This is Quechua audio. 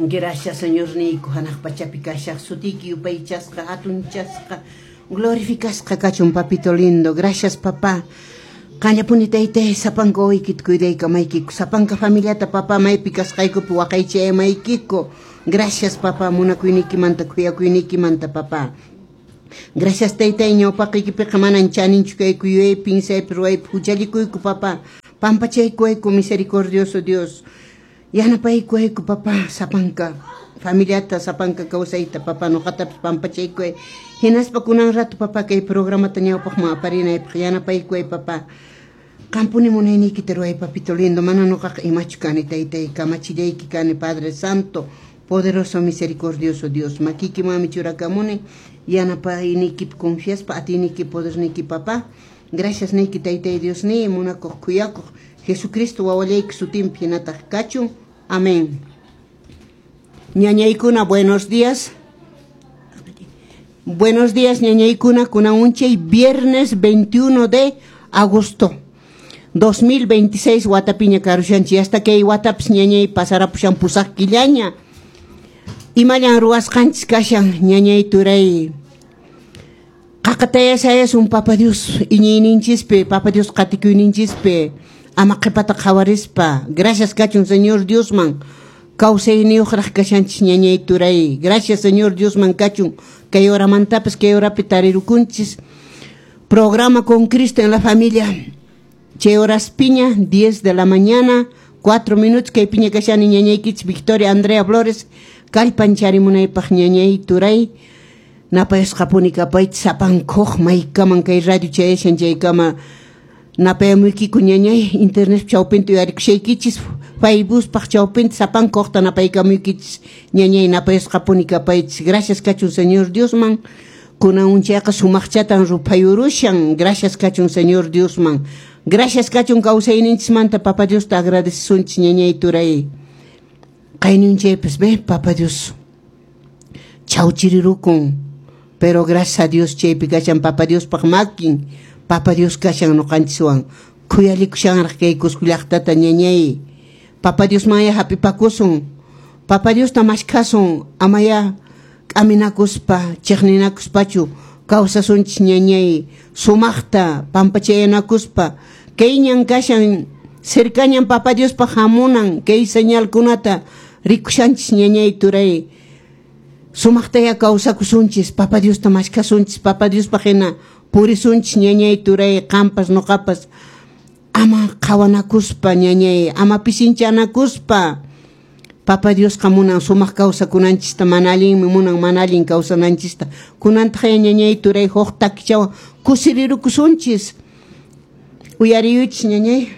Gracias, Señorniyku, hanaq pachapi kashaq sutiyki yupaychasqa, hatunchasqa, glorificasqa kachun, papito lindo. Gracias, papá. Qanllapuni, taytay, sapanka wawaykita cuidaykamaykiku, sapanka familiata, papá, maypi kasqaykupi waqaychayamaykiku. Gracias, papá, munakuyniykimanta, khuyakuyniykimanta, papá. Gracias, taytay, ñawpaqiykipiqa manan chaninchu kayku, yuyaypi, pinsaypi, ruwaypi huchallikuyku, papá. Pampachaykuwayku, misericordioso Dios. Yanapaykuwayku, papá, sapanka familiata, sapanka kawsayta, papá, nuqatapis pampachaykuway. Hinaspa kunan rato, papá, kay programata ñawpaqman aparinaypaq yanapaykuway, papá. Qampuni munayniykita ruway, papito lindo, mana nuqaqa imachu kani, taytay, kamachillayki kani, Padre Santo, poderoso, misericordioso Dios. Makiykimanmi churakamuni, yanapayniykipi confiaspa, atiyniyki, poderniyki, papá. Gracias niyki, taytay Diosniy, munakuq, khuyakuq Jesucristo wawallayki sutinpi hinataq kachun. Amén. Ñañaykuna, buenos días. Buenos días, ñañaykuna, kunan unchay viernes 21 de agosto 2026 watapiña karushanchis, hasta kay watapis, ñañay, pasarapushan 8 killaña. Imallan ruwasqanchis kashan, ñañay, turay? Qaqataya sayasun Papa Dios iñiyninchispi, Papa Dios qatikuyninchispi, ama qhipata qhawarispa. Gracias kachun Señor Diosman, kawsayniyuqraq kashanchis, ñañay, turay. Gracias Señor Diosman kachun, kay horamantapas kay horapi tarirukunchis. Programa Con Cristo en la Familia. Chay horaspiña, 10 de la mañana, 4 minutos, kay piña kashani ñañaykichis Victoria Andrea Flores, kallpancharimunaypaq, ñañay, turay. Napayasqapuni kapaychis sapankuq maykaman kay radio chayashan chaykama napayamuykiku, ñañay, internet chawpinta uyarikushaykichis, Facebookpaq chawpinta sapankuqta napaykamuykichis, ñañay, napayasqapuni kapaychis. Gracias kachun Señor Diosman, kunan unchayqa sumaqchatan ruphayurushan. Gracias kachun Señor Diosman. Gracias kachun kawsayninchismanta Papa Diosta agradecesunchis, ñañay, turay. Qayninchaypas ve Papa Dios chawchirirukun, pero gracias a Dios chaypi kashan Papa Diospaq makin, Papa Dios kashan nuqanchiswan, khuyalikushanraq kay Cusco llaqtata, ñañay. Papa Diosmanya hap'ipakusun, Papa Diosta mashkhasun, amaya k'aminakuspa, chiqninakuspachu kawsasunchis, ñañay, sumaqta pampachayanakuspa. Kay ñan kashan, cercañan Papa Diospaq hamunan, kay señalkunata rikushanchis, ñañay, turay. Sumaqtaya kawsakusunchis, Papa Diosta mashkhasunchis, Papa Diospaq hina purisunchis, ñañay, turay, qampas nuqapas, ama qhawanakuspa, ñañay, ama pisinchanakuspa. Papa Diosqa munan sumaq kawsakunanchista, mana allinmi munan mana allin kawsananchista. Kunantaq ñañay, turay, huk takichawan kusirirukusunchis. Uyariyuychis, ñañay.